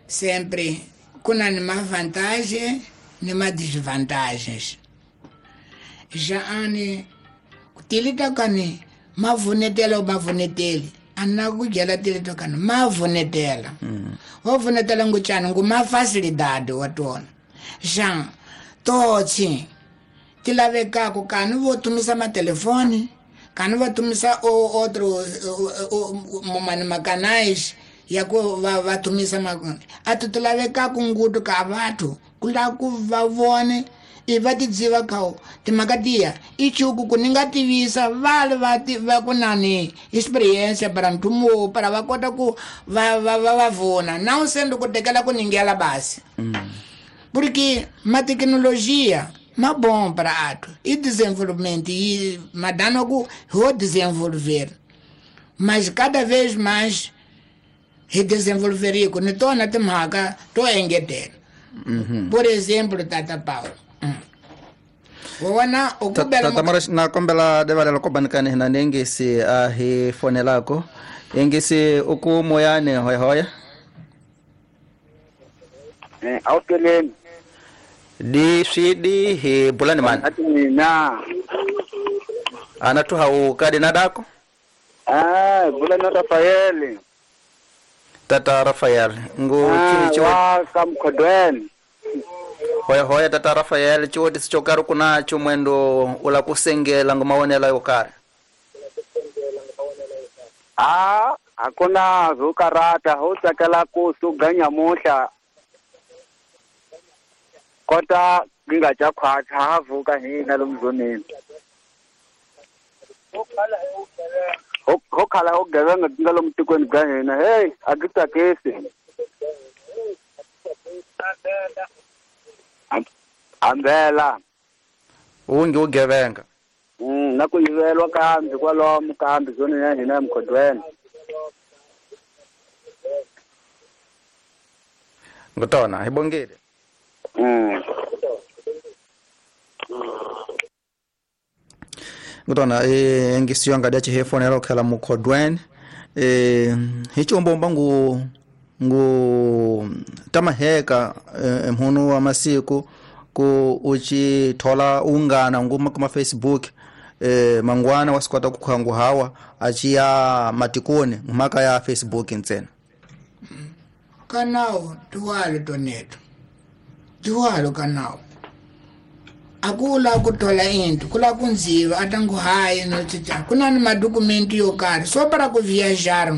Sempre kuna ni ma vantagem ni ma desvantagens. Já ani tilita kani mavunetela mavuneteli ana kugela tilita kani mavunetela. Wavunetela nguchana nguma facilidade watona. Já totsi tilavekako kani votumisa matelefone, kani votumisa outro mani macanais ya ku vatumisa atu tilavekako ngutu ka vathu kula ku va vone i va tidziva kao timhaka ichuku ku ni nga tivisa vale va ku nani experiência para ntumo para va kota ku va va va vona não sendo ku tekela ku ningela basi. Porque ma tecnologia ma bom para ato e desenvolvimento e madano ku ho desenvolver, mas cada vez mais redesenvolveria ku ni tona timhaka to engetela. Por exemplo, Tata Paulo wona ukubela Tata Mara na kombela devalela ko banikani hina nengisi a hi fonelako engisi uku moyane hoya hoya aukeleni di swidi hi bulani man atina ana tu hau kadi nadako bulani Rafael Tata Rafael ngu chini chiwa kamkodweni hoya hoya Tata Rafael chiwoti sichokari kunacho mwendo ula kusengela ngumaonela yokari hakuna zukarata ho tsakela ku suganya muhla kota ngingaja khwacha havuka hina lomzoneni ho khala ho gevenga tinga lomtikweni bya hina hey akitsakisi ambela ungi ugevenga na ku yivelwa kambi kwalomu kambi zone ya hina emkhodweni ngutona hi bongile. Ngutona ngisiyo ngadi achihefonela okhala mukhodweni hichombomba ngu tamaheka mhunu wa masiku ku uchithola ungana nguma kuma Facebook mangwana wasikwata kukhangu hawa achiya matikoni mhaka ya Facebook ntsena kanao tuwalo toneto tuwalo kanao akula kuthola into kula kunziva atangu hayi notsitsa kunani madokumenti yo karhi so para ku viajar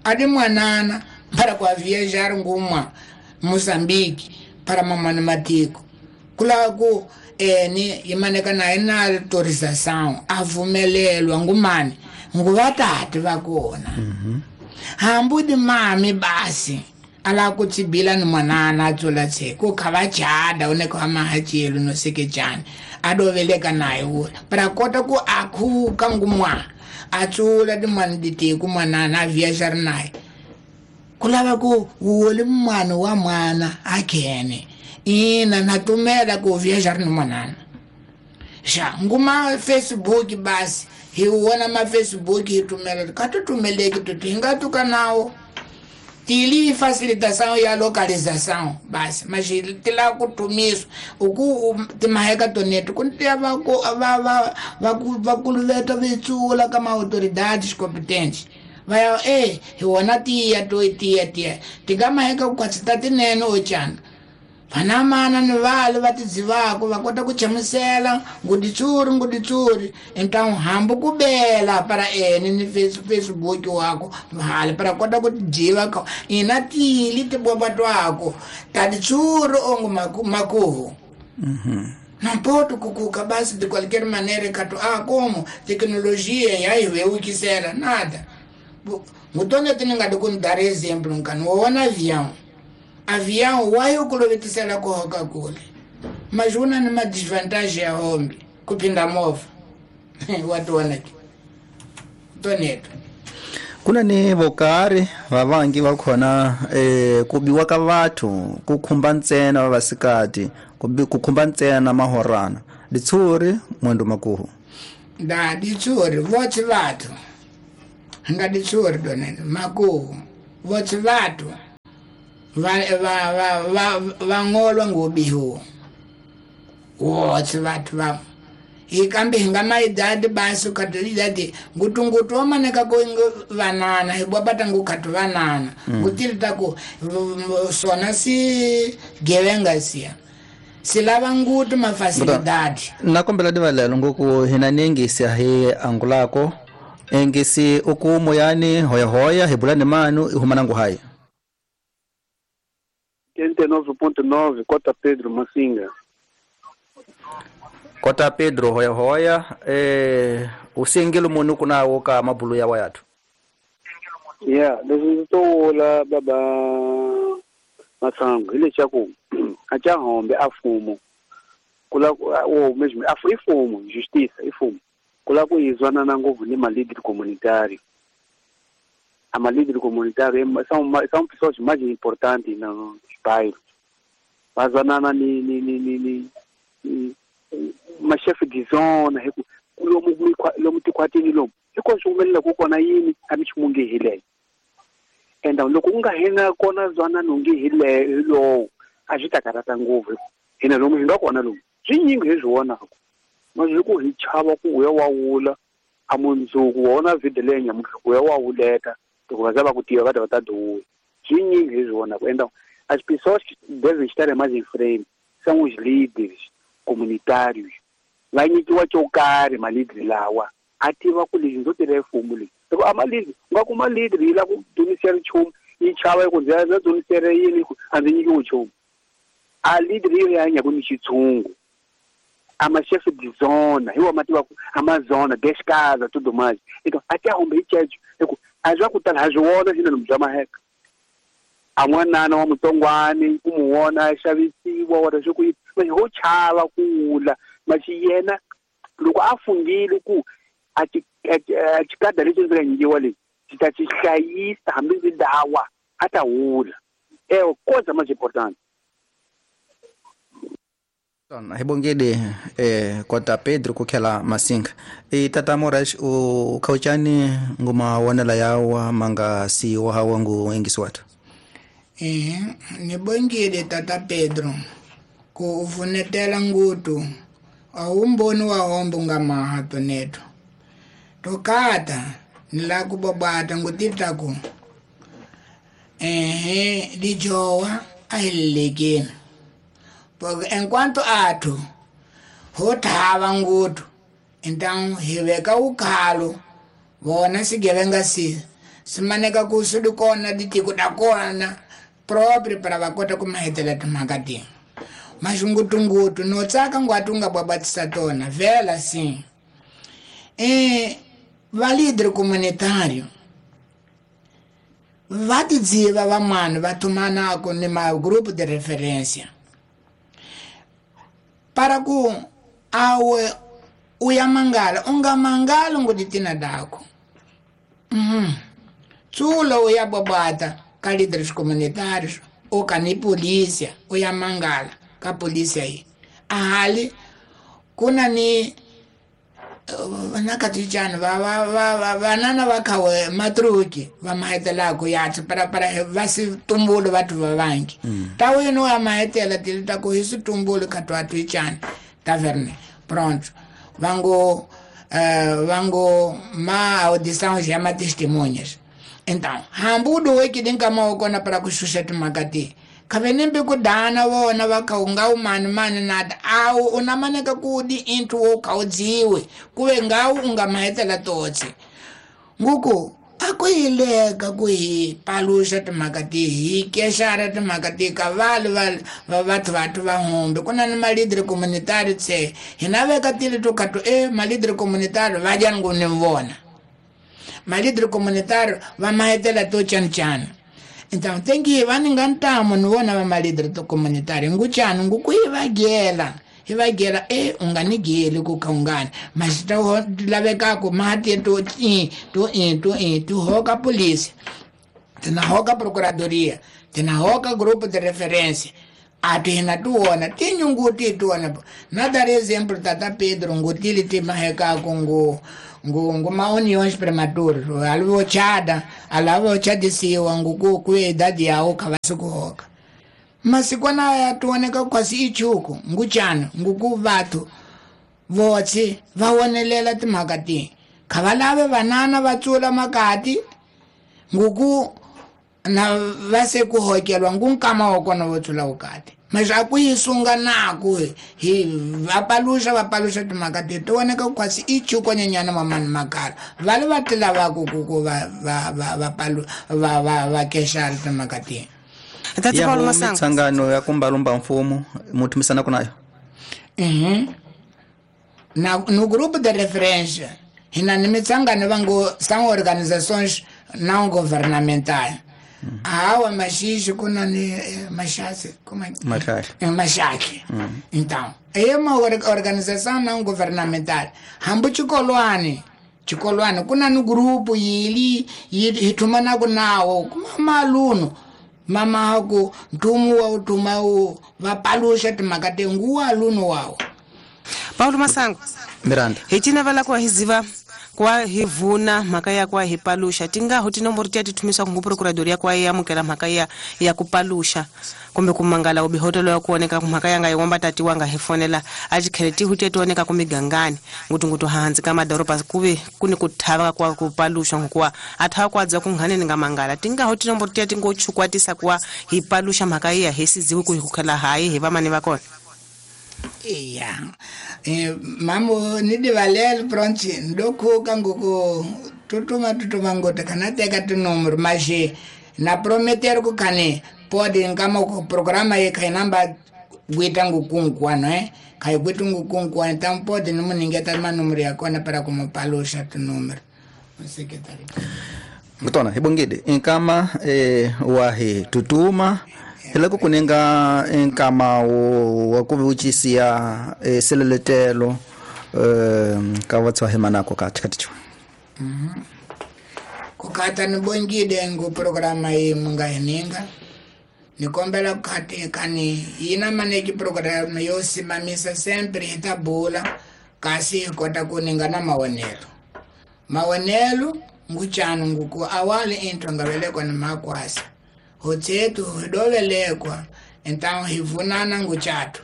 adi mwanana para ku viajar ngumwa Mozambique para mamani matiko kula ku eni yimaneka naye na autorização avumelelwa ngumani nguvatati va kona. Hambudi mami basi ala kutsibila ni mwanana atsula tse ku kha va chada une ku amahachelu no sekejani adoveleka naye ula para kota ku akhuka ngumwa atsula timwana diteku mwanana a viajar naye kulava ku woli mwana wa mwana akhene ina natumela ku viajar ni mwanana xa nguma Facebook basi hi wona ma Facebook hi tumela ka tutumeleki tuti hi nga tuka nawo tili facilitação ya localização basi mas tila kutumiswa uku timaheka toneto kuntia vakuluveta vitsula kama autoridades competentes vaya hi wona tiya to tiya tiya tingamaheka kukhwatsita tinene ochana vanamana ni vale va tidzivako va kota ku chamusela nguditsuri então hambi ku bela para ene ni Facebook wako hali para kota ku tidziva ka ina tili tibomba twako taditsuri ongo makuhu. Não pode kukuka basi de qualquer maneira kato como tecnologia yayiwewukisela nada ngutone tininga dar exemplo nkani wona avião avião wayo kulovetisela kuhoka kule mas una ni madesvantagem ya hombe kupinda mova watuona toneto kuna ni vokari vavangi va khona kubiwa ka vathu ku khumba ntsena vavasikati ku khumba ntsena mahorana ditsuri mwendo makuhu da ditsuri votsi vathu nga ditsuri donene makuhu votsi vathu va ngolwa ngubihu wotse vathu va hi kambe hi nga maidadi basi ukatolidadi ngutungutu omaneka ku vanana hi bwabata ngukhatu vanana ngutili taku sona si gevenga siya silava ngutu mafasilidadi. Nakombela divalelo ngoku hina nengisi hi angulako engisi uku moyani hoyahoya hi bula ni manu ihumana nguhayi 89.9 Cota Pedro Massinga. Kota Pedro hoyahoya usingile munhu kunawo ka mabulu ya wayathu. Yeah, leswi ndzi to vula baba Masangu hi leswaku a ca hombe a fumo kula o mesmo a ifumo justiça ifumo kula ku yi zwanana ngopfu ni malíder comunitário. A malíder comunitário são pessoas mais importantes nos bairros. Va zwanana ni ma-chef de zona hi ku lomu tikhwatini lomu hiko swi humelela ku kona yini a mi ximunge hi leyo enda loko ku nga hina kona zwanano nge hi lowo a swi ta karhata ngopfu hina lomu hi nga kona lomu swinyingi hi swi vonaka ma swi ku hi chava ku uya wa wula a mundzuku wa wona video leyi nyamuntlha ku ya wa wuleka loko va za va ku tiva va ta va ta duwa swinyingi hi swi vonaka enda as pessoas que devem estar mais em frente são os líderes comunitários. Va nyikiwa xo karhi malidri lawa a tiva ku lexi ndzo tirha mfumo leyi loko a malidri u nga kuma lidri yi lava ku donisela nchumu yi chava yi ku ndzi ya donisela yini a ndzi nyikiwi nchumu a lidri yi hanya ni xitshungu a ma-chef de zona hi wa ma tiva ku a ma zona dez casa tudo mais então até hombe hi ceco hi ku a swa ku tala ha swi vona xina lomu bya maheka a n'wanana wa mutsongwani ku mu vona a xavisiwa wona swi ku yini manje ho chava ku wula maxi yena loko a fungile ku a xikada lexi ndzi nga nyikiwa lexi xi ta xi hlayisa hambi ndzi dawa a ta wula ewe coisa mais importante. Hi bongile kota Pedro ku khela Masinga i tata Moraes u khauchani nguma wonela yawa manga siwa hawa ngu engisi wathu. Ni bongile tata Pedro ku uvunetela ngutu a wu mboni wa hombo nga maha toneto tokata ni la ku bobata ngutitaku lijowa a hi lelekeni porque enquanto athu ho thava ngutu então hi veka ukhalo vona sigevenga si simaneka ku swi li kona ditiko ta kona proprio para va kota ku mahetela timhaka ti maxingutungutu no tsaka ngwati u nga bwabatisa tona vhela sim va líder comunitário va tidziva van'wana va thumanako ni ma-grupo de referência para ku awe u ya mangala u nga mangali ngutitina dako tsulo u ya bwabwata ka líderes comunitários ou ka ni polícia u ya mangala ka polícia yi ahali ku na ni nakatichani vanana va khawe matruki va mahetelaku yatsi para para va si tumbulu vathu va vangi ta wini wa mahetela tili ta ku hi swi tumbulu kha twa twichani ta verne pronto vango vango ma audição já ma testemunhas então hambi u duwekile nkama wa kona para ku xuxa timhaka ti khavenembe ku dana vona va kha u nga wu mani mani nata awu u na maneka ku di into wo kha u dziwe kuve ngawu u nga mahetela totse nguku a ku hi leka ku hi paluxa timhaka ti hi kexara timhaka ti ka vali va vathu vathu va humbe ku na ni malidre communitary tse hina veka tili to kha to malidre communitary va dyani ngu ni vona malidre communitary va mahetela to chancana. Então tem que va ni nga ntamu ni vona va malidre to communitary nguchani nguku hi va gela u nga ni geli ku kha ungani mas ta lavekaku mati to i to i to i to hoka polícia tina hoka procuradoria tina hoka grupo de referência a tina tuona tinyunguti tuona na dar exemplo tata Pedro ngutili ti mahekaku ngu ngu mauniões prematuras alvo chada alavo chadisiwa nguku ku idade yawo kha va swi ku hoka. Masikwana aya tuoneka kwasi ichuku nguchana nguku vathu votsi va wonelela timhaka ti kha va lave vanana va tsula makati nguku na va se ku hokelwa ngu nkama wa kona vo tsula vukati mas a ku yi sunga naku hi va paluxa timhaka ti ti voneka kwasi i chuko nyenyana mamani makala va le va ti lavaku ku va va va va palu va va va kexari timhaka ti ya mitsangano ya kumbalumba mfumo muthumisana kunayo na no grupo de referência hina ni mitsangano vango são organizações não governamentais. Awa machixe kuna ni machase como é machaque. Então é uma organização não governamental hambu chikolwane kuna no grupo yili hitumana kunawo kuma maluno mama ku ntumu wa utuma u vapalusha timakate nguwa aluno wawo. Paulo Masango Miranda hitina vala kwa hiziva kwa hivuna mhaka ya kwa hipalusha tingaho tinomboro tiya tithumisa ku procuradoria kwa yamukela mhaka ya kupalusha kumbe kumangala ubihotelo ya kuoneka mhaka yanga yiwomba tati wanga hifonela achikhele tihu tiya tioneka kumigangani ngutungutu hanzi ka madoroba kuve kuni kuthava kwa kupalusha ngokuwa athava kwadza kunghaneni nga mangala tingaho tinomboro tiya tingochukwatisa kwa hipalusha mhaka iya hisiziwi ku hikukhela hayi hi vamani va kona. Iya. Mamo nidivalele pronto ndokhuka ngoko tutuma ngota kana teka tinumero mas na prometer ku kane pode nkama ku programa ye kai namba guita ngukunkuano kai guita ngukunkuano então pode no muningeta manumero ya kona para como palusha tinumero secretário ngutona hibongide inkama wahi tutuma hiloko kuninga nkama wa ku vuchisia seleletelo ka vatswa himanako ka chikaticho kukata nibongide ngu programa yi munga hininga nikombela kukati kani yina maneki programa yo simamisa sempre hitabula kasi hikota kuninga na maonelo nguchanu nguku awali into ngavelekwa ni makwasa hotsetu hidovelekwa então hivunana nguchatu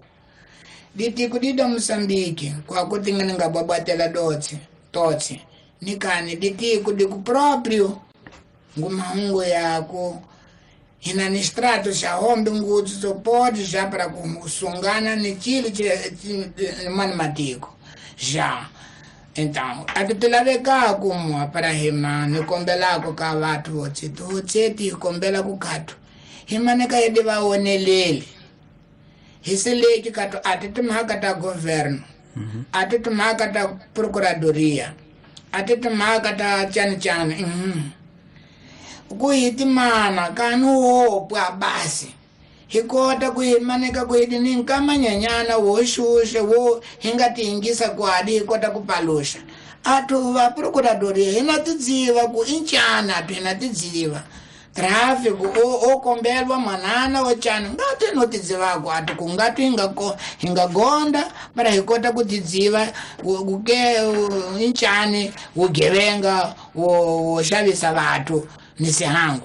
ditiku dida Moçambique kwakuti ngabwabwatela totsi nikani ditiku diku próprio ngumahungu yako hina ni strato xa hombe ngutsu sopode já para kusungana ni chile mani matiko já então atitulaveka kumwa para hima nikombelako ka vathu votsetu hotseti hikombela kukhatu himaneka yedi vaoneleli hisileki katu ati timhaka ta governo ati timhaka ta procuradoria ati timhaka ta chani ku hitimana kanu wopwa basi hikota ku himaneka ku hidini nkamanyanyana wo xuxe wo hinga tiyingisa kwadi hikota ku paluxa atu va procuradoria hina tidziva ku inchana atu hina tidziva tráfico o kombelwa manana wa chana ngati no tidzivako atu kungati hinga gonda para hikota ku tidziva kuke inchani ugevenga wo xavisa vathu ni sihangu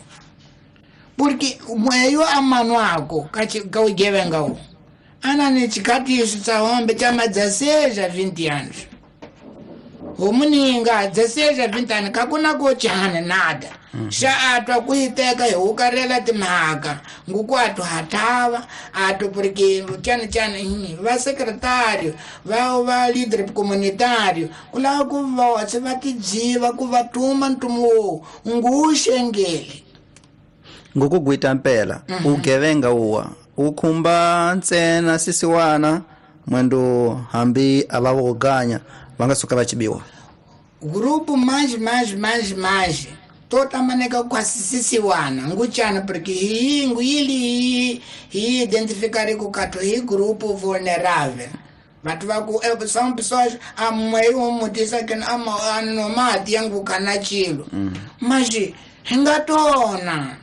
porque mweyo amano ako ka ugevenga u ana ni chikatiso tsa hombe chama 16 a 20 anos homuninga 16 a 20 anos kakuna ko chana nada xa atwa ku hiteka hi hukarela timhaka nguku athu hathava athu porque chani va secretário va líder comunitário ku lava ku va va tidziva ku va tuma ntumu wowu nguxengeli ngukugwita mpela ugevenga uwa ukhumba ntsena sisiwana mwendo hambi ava voganya va nga suka va chibiwa grupo mais tota maneka kwasisisiwana nguchana porque hingu yili hi identificar ku kato hi grupo vulnerável vatu vaku são pessoas amwe umutisa que ama mati yangu kana chilo mas hingatona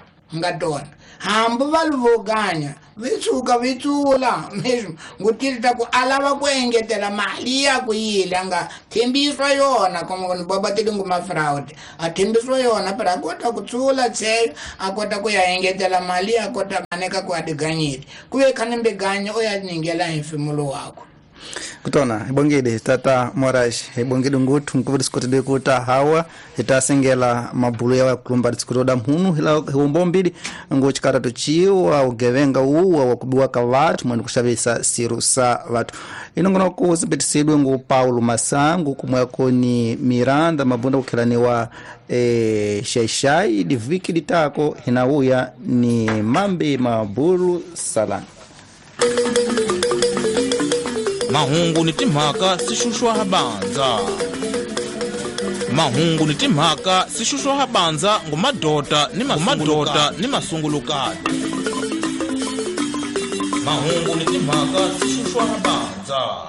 Hambi va livoganya vitshuka vitsula mesmo ngutirita ku alava ku engetela mali ya ku yile a nga thembiswa yona como ni baba tilingu ma-fraud a thembiswa yona pero a kota ku tsula tsheyo a kota ku ya engetela mali a kota maneka ku a diganyile ku ve khani mbeganya o ya ningela hi mfimulo wakwe. Kutona hi tata Moraes, hi bongile nguthu nkuva tisikotile ku ta hawa hi ta sengela mabulu ya kulumba tisikotoda mhunu hi umbombili ngo chikarato chiwa ugevenga uwa wa kubiwa ka vathu mwene kuxavisa siru sa vathu. Inongono ku sibetisidwe ngu Paulo Masangu kumweko ni Miranda Mabunda kukhelaniwa Xaixai diviki litako hinauya ni mambi mabulu salani. Mahungu ni timhaka sixuxwa habanza. Mahungu ni timhaka sixuxwa habanza ngumadota ni mamadota ni masungulukati. Mahungu ni timhaka sixuxwa habanza.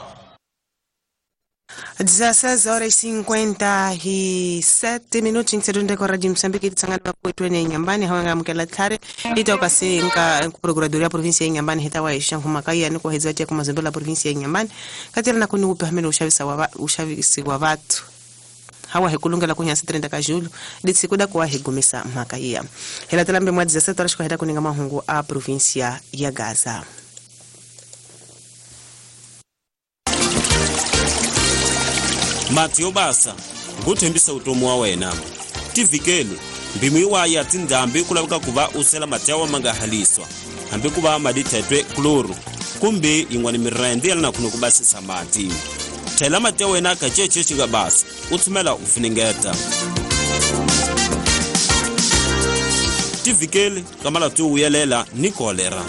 16 horas 57 minutos em segunda com Rádio Moçambique tsangana kwetu ne Inhambane hawanga mukela tlhare itoka se nka procuradoria província ya Inhambane hitawa isha humakaya ni kuhedza tia kumazembe la província ya Inhambane katela na kuni upe ushavisa wa ushavisi wa watu hawa hekulungela kunyasi 30 ka julho litsikuda kwa hegumisa makaya hela telambe mwa 17 horas kuheda kuninga mahungu a província ya Gaza. Mati yo basa nguthembisa utomi wa wena tivikeli mbimu iwaya tindhambi ku laveka ku va u sela mati ya wa ma nga haliswa hambi ku va madithetwe kloro kumbe yin'wana mirende ya na kuno ku basisa mati thela mati ya wena ka cece xi nga basa u tshumela u funengeta tivikeli ka malati yo vuyelela ni kolera.